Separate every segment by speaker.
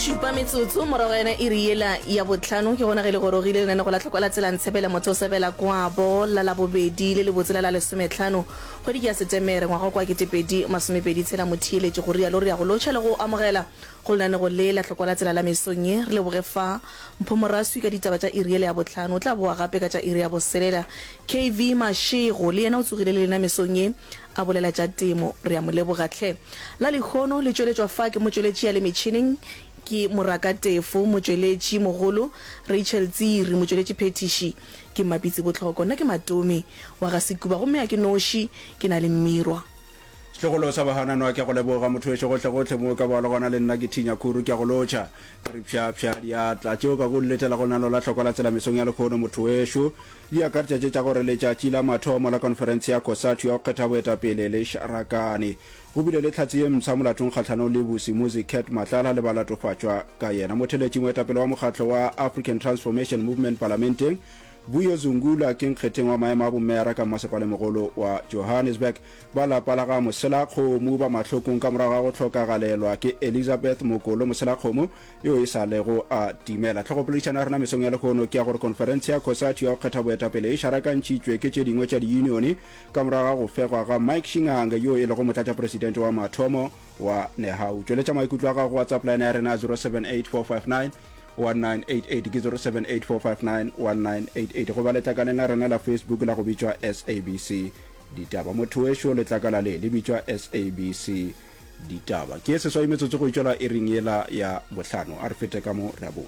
Speaker 1: Šupa metsotso morago ga yona iri yela ya bohlano ke gona ge le gorogile lenanego la tlhokwa la tsela Ntshebele motho o sebela kwabo la Labobedi le lebotse la la lesometlhano kgwedi ke ya Setemere ngwaga kwa 2023 motheeletši go rialo re ya go lotšha le go amogela go lenanego le la tlhokwa la tsela la mesong ye re leboge fa Mpho Moraswi ka ditaba tša iri yela ya bohlano o tla boa gape ka tša iri ya boselela KV Mashego le yena o tsogile le lena mesong ye a bolela tša temo. Re a mo leboga hle. La lehono le tšweletšwa fa ke motšweletši ya le metšhineng ke Moraka Tefo, motšweletši mogolo Rachel Tsiri, motšweletši phethiši ke Mmapitsi Botlhoko. Nna ke Matome wa ga Sekuba gomme a ke noši, ke na le Mmirwa.
Speaker 2: Setlogolo sa Bahananwa ke a go leboga motho wešo gohlegohle mo o ka bago le gona le nna ke Thinya Khuru ke a go lotšha ke re pša pša diatla tšeo ka go di letela go lenaneo la hlokwa la tsela mesong ya lekhono motho wešo Di akaretša tše tša gore letšatši la mathomo la konferense ya Cosatu ya go kgetha boetapele le šarakane. Go bile le tlhatse ye mpsha molatong kgahlanong le Vusimuzi Cat Matlala le balatofatšwa ka yena. Motheletši moetapele wa mokgatlo wa African Transformation Movement palamenteng, Vuyo Zungula ke nkgetheng wa maemo a bomeyara ka mmasepalemogolo wa Johannesburg. Ba lapa la ga Moselakgomo ba mahlokong ka morago ga go hlokagalelwa ke Elizabeth Mokolo Moselakgomo yo e sa lego a timela. Hlogopoledišano ya rena mesong ya lehono ke ya gore konferense ya Cosatu ya go kgetha boetapele e šarakantšhitšwe ke tše dingwe tša diyunione ka morago ga go fegwa ga Mike Shingange yo e lego motlatšapresidente wa mathomo wa Nehawu. Tšweletša maikutlo a gago go WhatsApp line ya rena ya 0784591988 ke 0784591988 goba letlakaleng la rena la Facebook la go bitšwa SABC Ditaba. Motho wešo letlakala le le bitšwa SABC Ditaba. Ke seswai metsotso go itšwela iring yela ya bohlano. A re fete ka mo re a boa.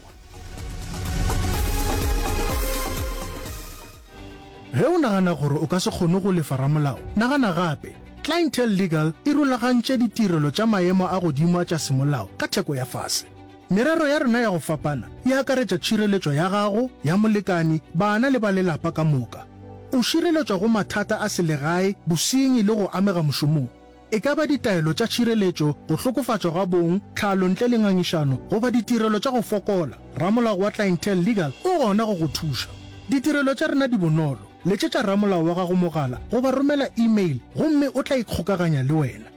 Speaker 3: Ge o nagana gore o ka se kgone go lefa ramolao, nagana gape. Clientele Legal e rulagantše ditirelo tša maemo a godimo a tša semolao ka theko ya fase. Merero ya rena ya go fapana e akaretša tšhireletšo ya gago, ya molekani, bana le ba lelapa ka moka. O šireletšwa go mathata a selegae, bosenyi le go amega mošomong. E ka ba ditaelo tša tšhireletšo, go hlokofatšwa ga bong, tlhalo ntle le ngangišano, goba ditirelo tša go fokola, ramolao wa Clientele Legal o gona go go thuša. Ditirelo tša rena di bonolo. Letšetša ramolao wa gago mogala goba romela e-mail gomme o tla ikgokaganya le wena.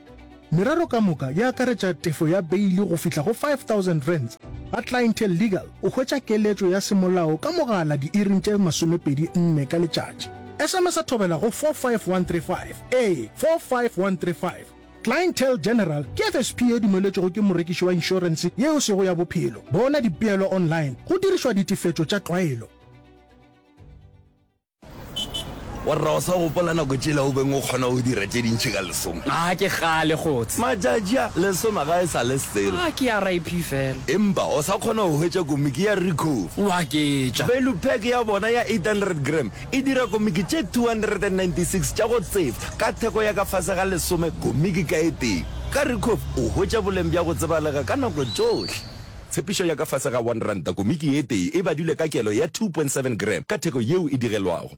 Speaker 3: Merero ka moka e akaretša tefo ya beili go fihla go R5000. Ga Clientele Legal o hwetša keletšo ya semolao ka mogala diiring tše 24 ka letšatši. SMS-a thobela go 45135. Ee, 45135. Clientele General ke FSP ye dumeletšwego ke morekiši wa inšorense ye e sego ya bophelo. Bona dipeelo online go dirišwa ditefetšo tša tlwaelo.
Speaker 4: Warra o sa gopola nako tšela o beng o kgona go dira tše dintši ka lesome?
Speaker 5: A ke kgale kgotse.
Speaker 4: Matšatši a, lesome ga e sa le selo.
Speaker 5: A ke RIP fela.
Speaker 4: Empa o sa kgona go hwetša komiki ya Ricoh.
Speaker 5: O aketša.
Speaker 4: Value pack ya bona ya 800 gram e dira komiki tše 296 tša go tsefa ka theko ya ka fase ga lesome komiki ka e tee. Ka Ricoh o hwetša boleng bja go tsebalega ka nako tšohle. Tshepišo ya ka fase ga R1 komiki ye tee e badilwe ka kelo ya 2.7 gram ka theko yeo e digelwago.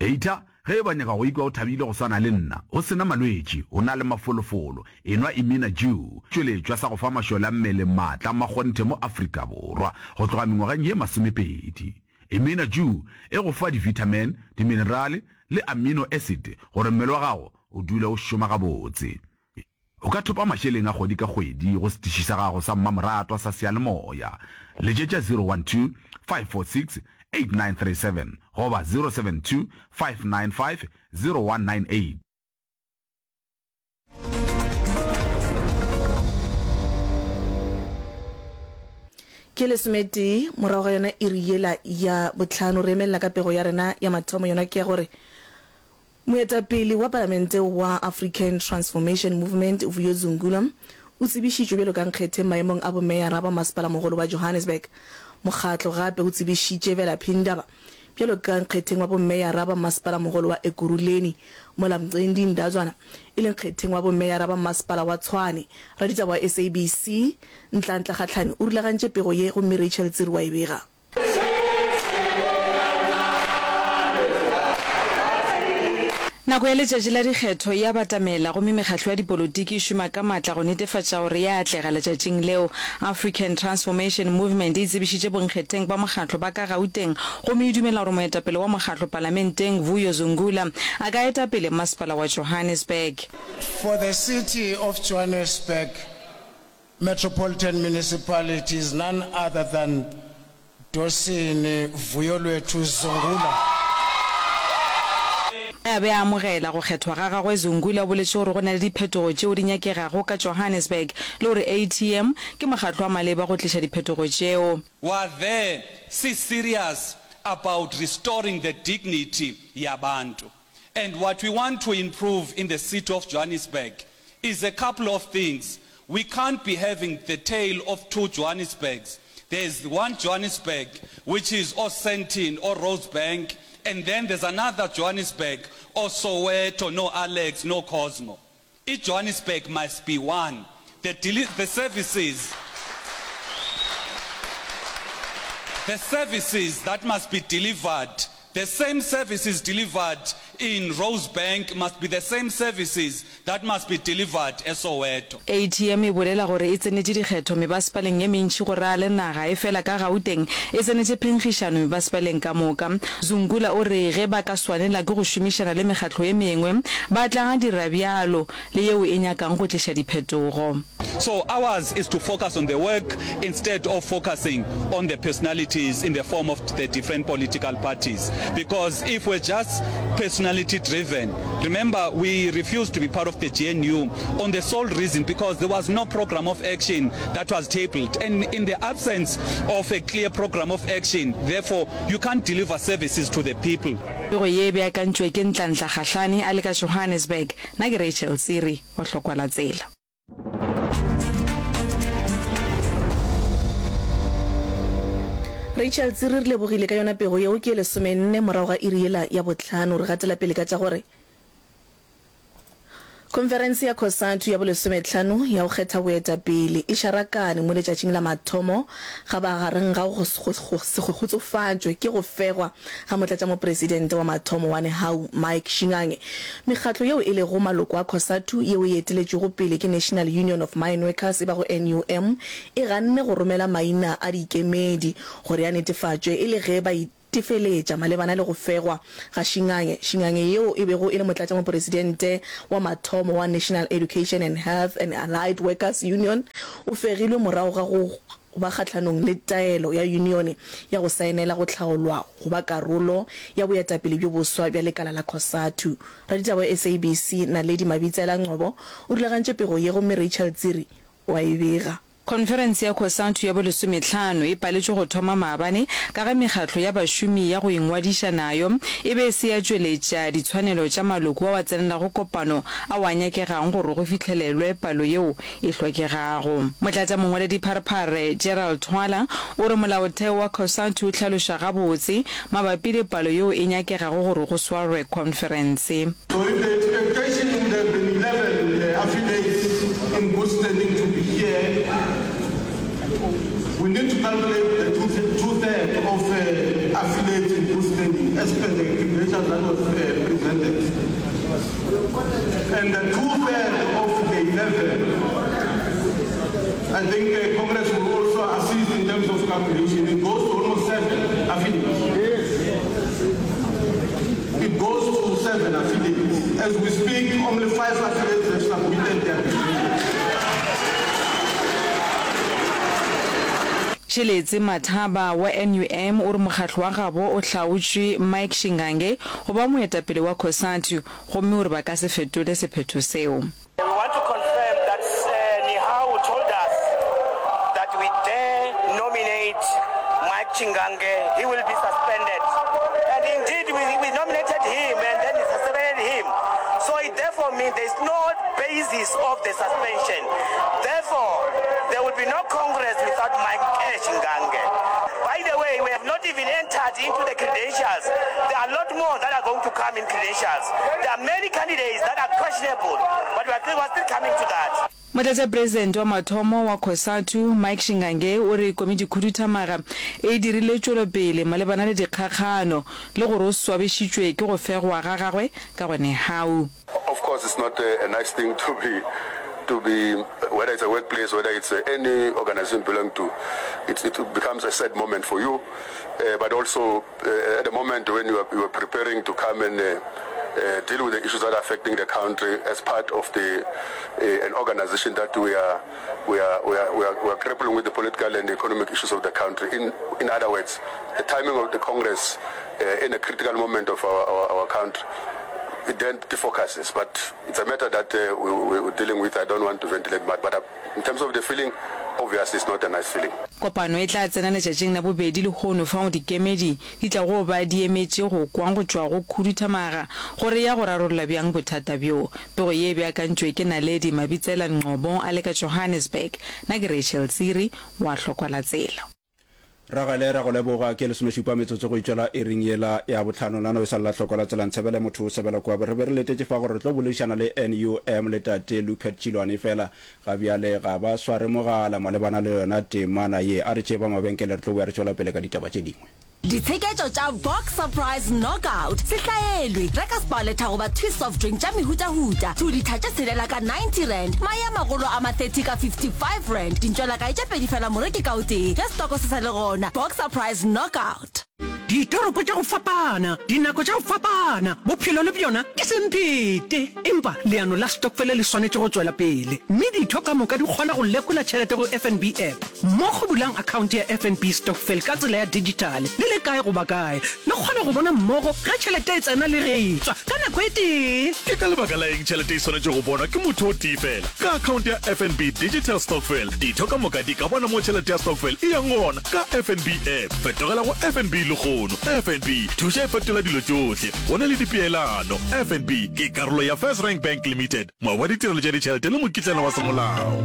Speaker 6: Data, Ge e ba nyaka go ikwa o thabile go swana le nna, o se na malwetši, o na le mafolofolo, enwa Imina Dew, tšweletšwa sa go fa mašole a mmele maatla a makgonthe mo Afrika Borwa go tloga mengwageng ye masomepedi. Imina Dew e go fa di-vitamin, diminerale le amino acid gore mmele wa gago o dule o šoma gabotse. O ka thopa mašeleng a kgwedi ka kgwedi go setiši sa gago sa mmamoratwa sa seyalemoya. Letšetša 012 546 8937 goba 072 595 0198.
Speaker 1: Ke lesometee morago ga yona iri yela ya bohlano. Re emelela ka pego ya rena ya mathomo, yona ke ya gore Moetapele wa palamente wa African Transformation Movement Vuyo Zungula o tsebišitšwe bjalo ka nkgetheng maemong a bomeyara ba masepalamogolo wa Johannesburg. Mokgatlo gape o tsebišitše Velaphi Ndaba bjalo ka nkgetheng wa bomeyara ba masepalamogolo wa Ekurhuleni mola Mcendi Ndazwana e le nkgetheng wa bomeyara ba masepala wa Tshwane. Raditaba wa SABC Ntlantla Kgatlhane o rulagantše pego ye gomme Rachel Tsiri wa e bega.
Speaker 7: Nako ya letšatši la dikgetho e a batamela gomme mekgatlo ya dipolotiki e šoma ka matla go netefatša gore e a atlega letšatšing leo. African Transformation Movement e tsebišitše bonkgetheng ba mokgatlo ba ka Gauteng gomme e dumela gore moetapele wa mokgatlo palamenteng Vuyo Zungula a ka eta pele masepala wa Johannesburg.
Speaker 8: For the city of Johannesburg. Metropolitan Municipality is none other than Dosini Vuyolwethu Zungula.
Speaker 7: Ge a be a amogela go kgethwa ga gagwe, Zungula o boletše gore go na le diphetogo tšeo di nyakegago ka Johannesburg le gore ATM ke mokgatlo wa maleba go tliša diphetogo tšeo.
Speaker 9: Wa there si serious about restoring the dignity yabantu and what we want to improve in the city of Johannesburg is a couple of things, we can't be having the tale of two Johannesburgs, there's one Johannesburg which is o Sandton o Rosebank and then there's another Johannesburg o Soweto no Alex no Cosmo. I Johannesburg must be one, the the services the services that must be delivered, the same services delivered in Rosebank must be the same services that must be delivered eSoweto.
Speaker 7: ATM e bolela gore e tsenetše dikgetho mebasepaleng ye mentši go raya le naga, efela ka Gauteng e tsenetše phenkgišano mebasepaleng ka moka. Zungula o re ge ba ka swanela ke go šomišana le mekgatlo ye mengwe, ba tla dira bjalo le yeo e nyakang go tliša diphetogo.
Speaker 9: So ours is to focus on the work instead of focusing on the personalities in the form of the different political parties because if we're just personality driven, remember we refused to be part of the GNU on the sole reason because there was no program of action that was tabled and in the absence of a clear program of action therefore you can't deliver services to the people.
Speaker 7: Pego ye e beakantšwe ke Ntlantla Kgahlane a le ka Johannesburg. Nna ke Rachel Tsiri wa Hlokwa la Tsela.
Speaker 1: Rachel Tsiri re lebogile ka yona pego yeo ke ye lesomenne morago ga iri yela ya bohlano. Re gatela pele ka tša gore Khonferense ya Cosatu ya bolesometlhano ya go kgetha boetapele e šarakane mo letšatšing la mathomo ga magareng ga go se kgotsofatšwe ke go fegwa ga motlatšamopresidente wa mathomo wa Nehawu Mike Shingange. Mekgatlo yeo e lego maloko a Cosatu yeo e eteletšwego pele ke National Union of Mineworkers e bago NUM e ganne go romela maina a diikemedi gore a netefatšwe e le ge ba itefeletša malebana le go fegwa ga Shingange. Shingange yeo e bego e le motlatšamopresidente wa mathomo wa National Education and Health and Allied Workers Union o fegilwe morago ga go ba kgahlanong le taelo ya yunione ya go saenela go hlaolwa go ba karolo ya boetapele bjo boswa bja lekala la Cosatu. Raditaba wa SABC, Naledi Mabitsela Ngcobo o rulagantše pego ye gomme Rachel Tsiri o a e bega.
Speaker 7: Khonferense ya Cosatu ya bolesomehlano e paletšwe go thoma maabane ka ge mekgatlo ya bašomi ya go ingwadiša nayo e be e se ya tšweletša ditshwanelo tša maloko ao a tsenelago kopano ao a nyakegang gore go fihlelelwe palo yeo e hlokegago. Motlatšamongwaledipharephare Gerald Thwala o re molaotheo wa Cosatu o hlaloša gabotse mabapi le palo yeo e nyakegago gore go swarwe khonferense.
Speaker 10: So if the expectation would have been 11 affiliates in good standing to be here, we need to calculate the two-thirds of affiliates in good standing as per the credentials that was presented. And the two-thirds of the 11, I think Congress will also assist in terms of calculation. It goes to almost 7 affiliates. It goes to 7 affiliates. As we speak, only 5 affiliates have submitted their credentials.
Speaker 7: Tšheletse Mathaba wa NUM o re mokgatlo wa gabo o hlaotšwe Mike Shingange go ba moetapele wa Cosatu gomme o re ba ka se fetole sephetho seo.
Speaker 11: We want to confirm that Nehawu told us that we dare nominate Mike Chingange, he will be suspended. And indeed, we, we nominated him and then he suspended him. So it therefore means there is no basis of the suspension. Therefore, there will be no Congress without Mike Chingange. By the way, we have not even entered into the credentials. There are a lot more that are going to come in credentials. There are many candidates that are questionable, but we are still, we are still coming to that.
Speaker 7: Motlatšapresidente wa mathomo wa Cosatu, Mike Shingange, o re komitikhuduthamaga e dirile tšwelopele malebana le dikgakgano le gore o swabišitšwe ke go fegwa ga gagwe ka go Nehawu.
Speaker 12: Of course it's not a nice thing to be to be whether it's a workplace whether it's any organization you belong to it's, it becomes a sad moment for you uh, but also uh, at the moment when you are, you are preparing to come and uh, uh, deal with the issues that are affecting the country as part of the uh, an organization that we are we are, we are, we are, we are grappling with the political and economic issues of the country. In, in other words, the timing of the Congress uh, in a critical moment of our, our, our country it then defocuses. But it's a matter that uh, we, we, we're dealing with. I don't want to ventilate much. But uh, in terms of the feeling, obviously it's not a nice feeling.
Speaker 7: Kopano e tla tsena letšatšing la bobedi lehono fao dikemedi di tlago ba di emetše go kwa go tšwa go khuduthamaga gore e ya go rarolla bjang bothata bjo. Pego ye e beakantšwe ke Naledi Mabitsela Ngcobo a le ka Johannesburg. Nna ke Rachel Tsiri wa Hlokwalatsela.
Speaker 2: Ragele, ra go leboga. Ke lesomešupa metsotso go itšwela iring yela ya bohlano. Nano e sa lla hloko la tsela Ntshebele motho o sebela kua. Re be re letetše fa gore re tlo boledišana le NUM le tate Lupert Tšilwane efela ga bjale ga ba sware mogala malebana le yona temana ye. A re tšee ba mabenkele re tlo boya re tšwela pele ka ditaba tše dingwe.
Speaker 13: Ditsheketšo tša Box Surprise Knockout Se hlaelwe! Reka Spar Lethabo goba Twist soft drink tša mehutahuta, 2 litha tše tshelela ka R90, mae a magolo a ma 30 ka R55, dintšwelakae tše pedi fela moreki ka o tee, ge setoko se sa le gona. Box Surprise Knockout.
Speaker 14: Ditoropo tša go fapana, dinako tša go fapana, bophelo le bjona ke semphete. Empa leano la stokfele le swanetše go tšwela pele, mme ditho ka moka di kgona go lekola tšhelete go FNB app. Mmogo bulang akhaonte ya FNB Stokvel ka tsela ya dijithale le le kae goba kae. Le kgona go bona mmogo ge tšhelete e tsena le ge e tšwa ka nako e tee.
Speaker 15: Ke ka lebaka la eng tšhelete e swanetše go bonwa ke motho o tee fela? Ka akhaonte ya FNB Digital Stokvel, ditho ka moka di ka bona mo tšhelete ya stokvel e yang gona ka FNB app. Fetogela go FNB lehono. FNB, thuša e fetola dilo tšohle. Go na le dipeelano. FNB ke karolo ya FirstRand Bank Limited, moabi wa ditirelo tša ditšhelete le mokitlana wa semolao.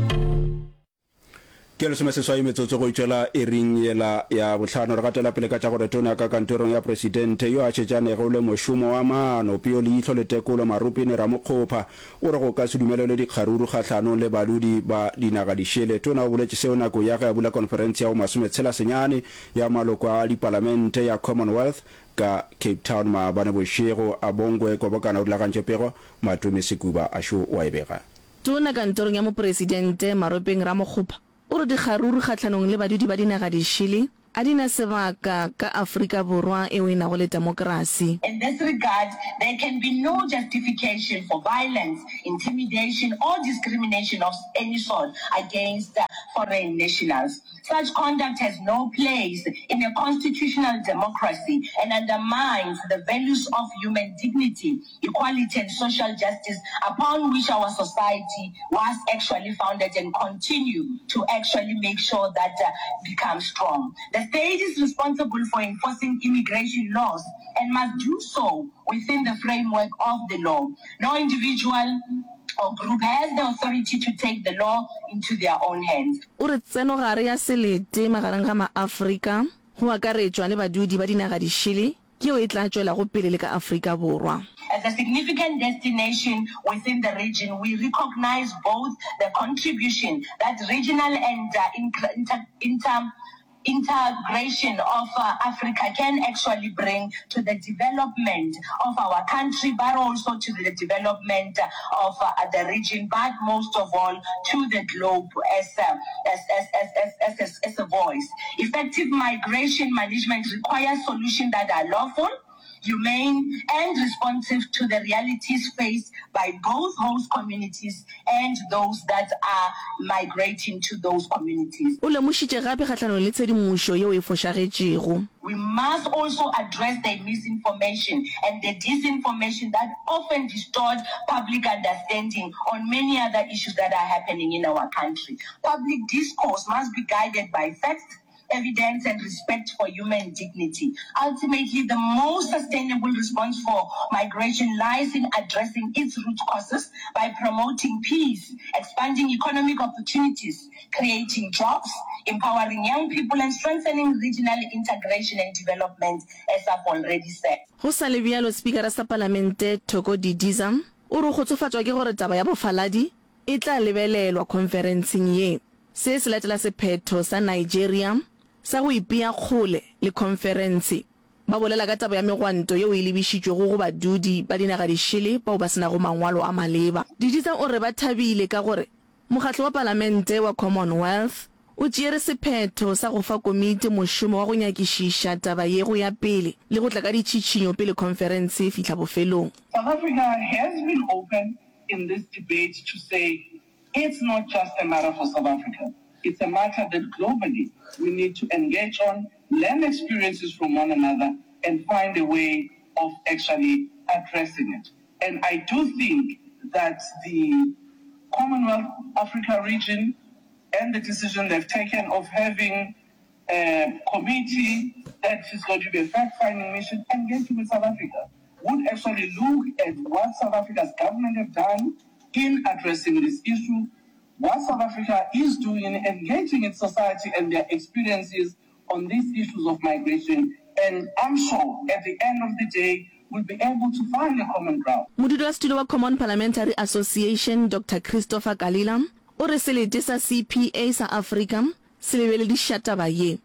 Speaker 2: Ke lesomeseswai metsotso go itšwela iring yela ya bohlano. Re gatela pele ka tša gore Tona ka kantorong ya Presidente yo a šetšanego le mošomo wa maano, peo leihlo le tekolo, Maropene Ramokgopa, o re go ka se dumelelwe dikgaruru kgahlanong le badudi ba dinaga dišele. Tona o boletše seo nakong ya ge a bula konferense ya bo masometshela senyane ya maloko a dipalamente ya Commonwealth ka Cape Town maabane bošego. Abongwe Kobokana o rulagantše pego, Matome Sekuba a šo o a e bega.
Speaker 1: Tona kantorong ya Mopresidente, Maropeng Ramokgopa, o re dikgaruru kgahlanong le badudi ba dinaga dišele a di na sebaka ka Afrika Borwa eo e nago le temokrasi.
Speaker 16: In this regard, there can be no justification for violence, intimidation or discrimination of any sort against foreign nationals. Such conduct has no place in a constitutional democracy and undermines the values of human dignity, equality and social justice upon which our society was actually founded and continue to actually make sure that uh, becomes strong. The state is responsible for enforcing immigration laws and must do so within the framework of the law. No individual or group has the authority to take the law into their own hands.
Speaker 1: O re tsenogare ya selete magareng ga maAfrika, go akaretšwa le badudi ba dinaga dišele, ke yeo e tla tšwelago pele le ka Afrika Borwa.
Speaker 16: As a significant destination within the region, we recognise both the contribution that regional and inter integration of Africa can actually bring to the development of our country, but also to the development of the region, but most of all to the globe as a, as, as, as, as, as, as a voice. Effective migration management requires solutions that are lawful, humane and responsive to the realities faced by both host communities and those that are migrating to those communities.
Speaker 1: O lemošitše gape kgahlanong le tshedimošo yeo e fošagetšego.
Speaker 16: We must also address the misinformation and the disinformation that often distort public understanding on many other issues that are happening in our country. Public discourse must be guided by facts, evidence and respect for human dignity. Ultimately, the most sustainable response for migration lies in addressing its root causes by promoting peace, expanding economic opportunities, creating jobs, empowering young people and strengthening regional integration and development, as I've already said.
Speaker 1: Go sa le bjalo, Spikara sa Palamente Thoko Didiza o re o kgotsofatšwa ke gore taba ya bofaladi e tla lebelelwa khonferenseng ye. Se se latela sephetho sa Nigeria sa go ipea kgole le khonferense. Ba bolela ka taba ya megwanto yeo e lebišitšwego go badudi ba dinaga dišele bao ba se nago mangwalo a maleba. Didiza o re ba thabile ka gore Mokgatlo wa Palamente wa Commonwealth. o tšeere sephetho sa go fa komiti mošomo wa go nyakišiša taba ye go ya pele le go tla ka ditšhitšhinyo pele khonferense e fihla bofelong.
Speaker 17: South Africa has been open in this debate to say it's not just a matter for South Africa, it's a matter that globally we need to engage on, learn experiences from one another and find a way of actually addressing it. And I do think that the Commonwealth Africa region and the decision they've taken of having a committee that is going to be a fact-finding mission engaging with South Africa would actually look at what South Africa's government have done in addressing this issue, what South Africa is doing in engaging its society and their experiences on these issues of migration, and I'm sure at the end of the day we'll be able to find a common ground.
Speaker 1: Modulasetulo wa Common Parliamentary Association Doctor Christopher Kalila o re selete sa CPA sa Afrika se lebelediša taba ye.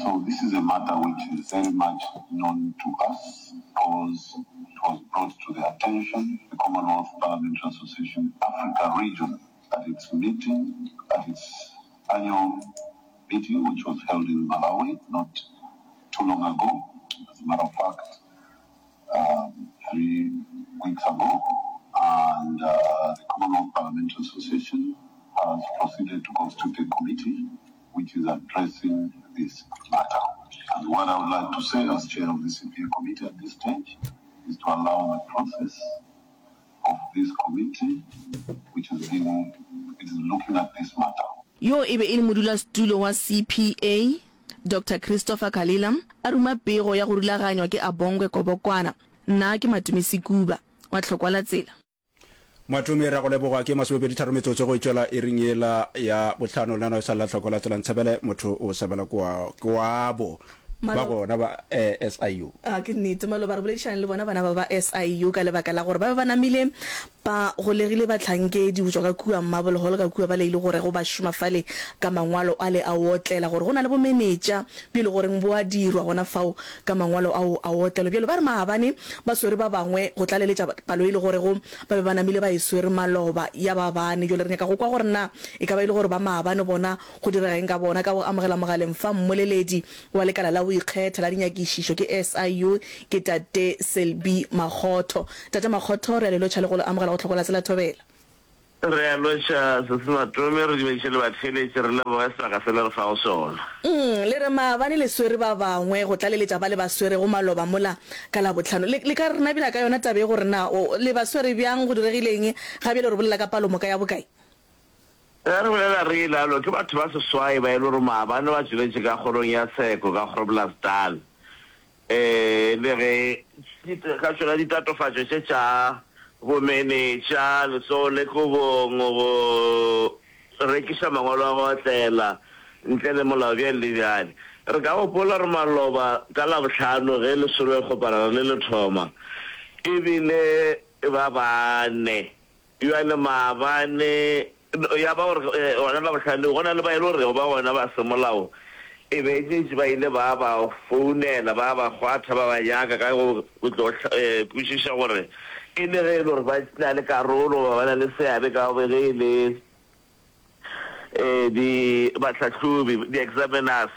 Speaker 18: So this is a matter which is very much known to us because it was brought to the attention the Commonwealth Parliamentary Association Africa region at its meeting, at its annual meeting which was held in Malawi not too long ago, as a matter of fact um, three weeks ago, and uh, the Commonwealth Parliamentary Association has proceeded to constitute a committee which is addressing this matter. And what I would like to say as chair of the CPA committee at this stage is to allow the process of this committee which is being, it is looking at this matter.
Speaker 1: Yo e be e le modulasetulo wa CPA, Doctor Christopher Kalila, a ruma pego ya go rulaganywa ke Abongwe Kobokwana. Nna ke Matome Sekuba, wa Tlhokwa la Tsela.
Speaker 2: Matome, Re a go leboga. Ke masomepeditharo metsotso go e tšwela iring yela ya bohlano. Lenaneo e sa le la Tlhokwa la Tsela. Ntshebele motho o sebela kua kwabo ba gona ba SIU.
Speaker 1: A ke nnete, maloba re boledišane le bona bana ba ba SIU ka lebaka la gore ba be ba namile ba golegile bahlankedi go tšwa ka kua Marble Hall ka kua ba le e le gorego ba šoma fale ka mangwalo ale a otlela gore go na le bomenetša bjo e le goreng bo a dirwa gona fao ka mangwalo ao a otlelo. Bjalo ba re maabane ba swere ba bangwe go tlaleletša palo e le gorego ba be ba namile ba e swere maloba ya ba bane. Bjale re nyaka go kwa gore na e ka ba e le gore ba maabane bona Go direga eng ka bona? Ka go amogela mogaleng fa mmoleledi wa lekala la go ikgetha la dinyakišišo ke SIU ke Tate Selby Makgotho. Tate Makgotho, re a le lotšha le go le amogela go Tlhoko la Tsela Thobela.
Speaker 19: Re a lotšha Sesi Matome, re dumediše le batheeletši, re leboge sebaka se le re fago sona.
Speaker 1: Umm, le re maabane le swere ba bangwe go tlaleletša ba le ba swerego maloba mola ka Labohlano. Le, le ka re nabela ka yona taba ye gore na o, le ba swere bjang, go diregile eng? Ga bjale re bolela ka palomoka ya bokae?
Speaker 19: Ge re bolela re ilalo, ke batho ba seswai ba e le gore maabane ba tšweletše ka kgorong ya tsheko ka Groblersdal. E le ge ka tšona ditatofatšo tše tša bomenetša, letsogo le kobong, go rekiša mangwalo a go otlela ntle le molao bjale le bjale. Re ka gopola gore maloba ka Labohlano ge lesolo le kgoparara le le thoma, e bile ba bane Bjale maabane, ya ba gore gona Labohlano leo, go na le ba e le gorego ba gona ba semolao e be e šetše ba ile ba ba founela, ba ba kgwatha, ba ba nyaka ka go tlo kwešiša gore e le ge e le gore ba na le karolo goba ba na le seabe ka ge e le di bahlahlobi, di-examiners,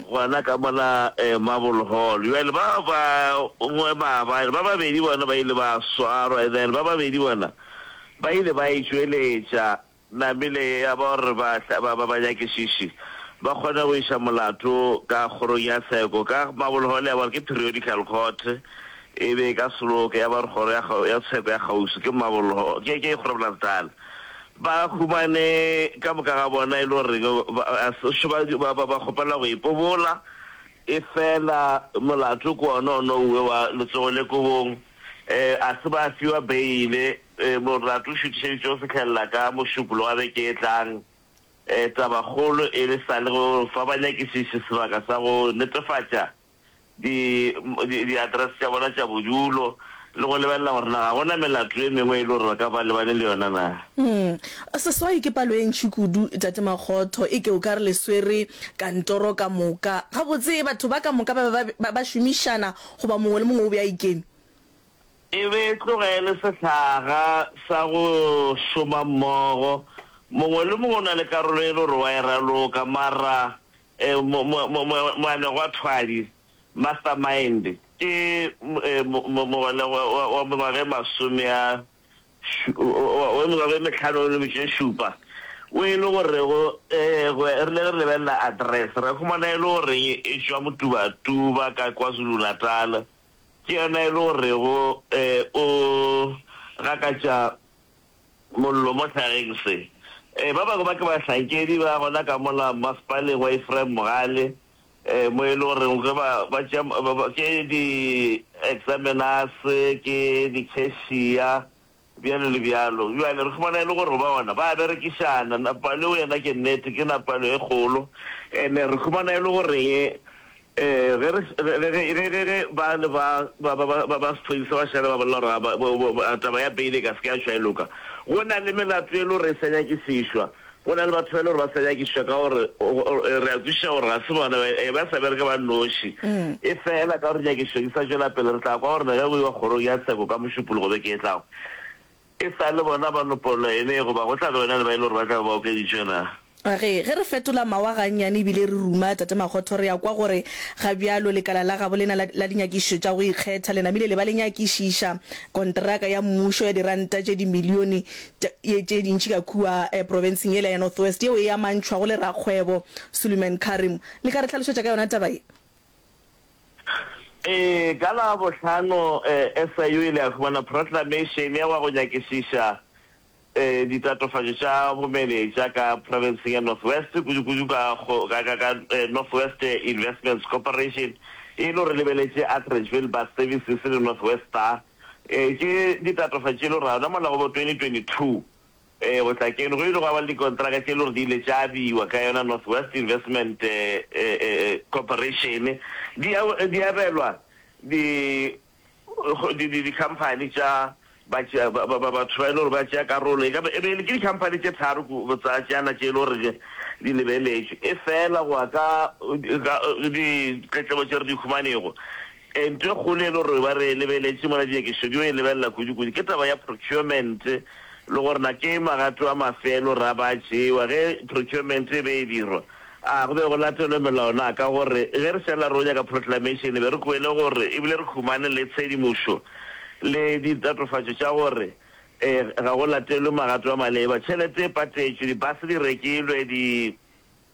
Speaker 19: gona ka mola Marble Hall. Bjale ba bangwe maabane, ba babedi bona ba ile ba swarwa, and then ba babedi bona ba ile ba e tšweletša namile ya ba gore banyakišiši ba kgone go iša molato ka kgorong ya tsheko ka Marble Hall ya ba gore ke periodical court e be e ka se loke ya ba gore kgoro ya tsheko ya kgauswi ke Marble Hall ke ke Groblersdal. Ba humane ka moka ga bona e le gore ba, ba, ba kgopela go ipobola, efela molato ke wona ono uwe wa letsogo le kobong. E, a se ba fiwa beile. E, molato o šutišeditšwe go fihlelela ka Mošupologo wa beke e tlang. E, tabakgolo e le sa le go fa banyakišiši sebaka sa go netefatša di, di, diaterese tša bona tša bodulo le go lebelela gore na ga go na melato e mengwe e le gore ba ka ba lebane le yona na.
Speaker 1: Mm. Seswai ke palo e ntši kudu, Tate Makgotho, e ke o ka re le swere kantoro ka moka. Gabotse batho ba ka moka ba be ba, ba, ba šomišana goba mongwe le mongwe o be a ikeme?
Speaker 19: E be e tloga e le sehlaga sa go šoma mmogo. Mongwe le mongwe o na le karolo e le gore wa e raloka, mara moanegwathwadi, mastermind, ke mogolegwa wa mengwaga e masome a wa mengwaga e mehlano le metšo e šupa, o e le gorego re rile ge re lebelela address ra humana e le goreng e tšwa Motubatuba ka KwaZulu-Natal, ke yena e le gorego o gakatša mollo mo hlageng se. Ba bangwe ba ke bahlankedi ba gona ka mola masepaleng wa Ephraim Mogale, mo e le goreng ge ba ba tšea ke di-examiners, ke di-cashier, bjalo le bjalo. Bjale re humana e le gore ba gona ba berekišana. Napaleo yena ke nnete ke napalo e kgolo, and-e re humana e le goreng Ge re, ge, ge, ge, ge, ge ba le ba, ba, ba, ba, ba, ba sephodisa ba šale ba bolela gore ga ba, bo, bo, bo, taba ya beile e ka se ke ya tšwa e loka. Go na le melato e le gore e sa nyakišišwa. Go na le batho ba e le gore ba sa nyakišišwa ka gore, re a kwešiša gore ga se bona, ba, ba sa bereke ba nnoši. E fela ka gore nyakišišo di sa tšwela pele, re tla kwa gore ge go iwa kgorong ya tsheko ka Mošupologo beke e tlago, E sa le bona ba nopollo ene goba go tla be go na le ba e le gore ba tla be ba okeditšwe na?
Speaker 1: Ge, ge re fetola mawa gannyane ebile re ruma Tate Makgotho re ya kwa gore ga bjalo lekala la gabo lena la, la dinyakišišo tša go ikgetha le namile le ba le nyakišiša konteraka ya mmušo ya diranta tše dimilione tše, tše dintši ka kua eh, profenseng yela ya North West yeo e amantšhwago le rakgwebo Suleiman Carrim. Le ka re hlalošetša ka yona taba ye?
Speaker 19: Ee, ka Labohlano SIU e ile ya humana proclamation ya wa go nyakišiša ditatofatšo tša bomenetša ka profenseng ya North West, kudu-kudu ka ka ka North West Investments Corporation, e le gore lebeletše Atteridgeville Bus Services le North West Star. Ke ditatofatšo tše e le gore gona mola go bo 2022 Ee, go tla keno go ile gwa ba le dikontraka tše e le gore di ile tša abiwa ka yona North West Investment Corporation, di di abelwa di di di dikhamphani tša batho ba e le gore ba tšea karolo, e ka ba e be e le ke dikhamphani tše tharo tsa tšana tše e le gore di lebeletšwe. Efela go ya ka ditletlebo tše re di humanego, Ntho e kgolo e le gore ba re lebeletše mola dinyakišišo di yo e lebelela kudu-kudu ke taba ya procurement le gore na ke magato a mafe e le gore a ba tšewa ge procurement e be e dirwa. A go be go latelwe melao na? Ka gore ge re šala re o nyaka proclamation be re kwele gore ebile re humane le tshedimošo le ditatofatšo tša gore ga go latelwe magato a maleba. Tšhelete e patetšwe, di-bus di rekilwe, di.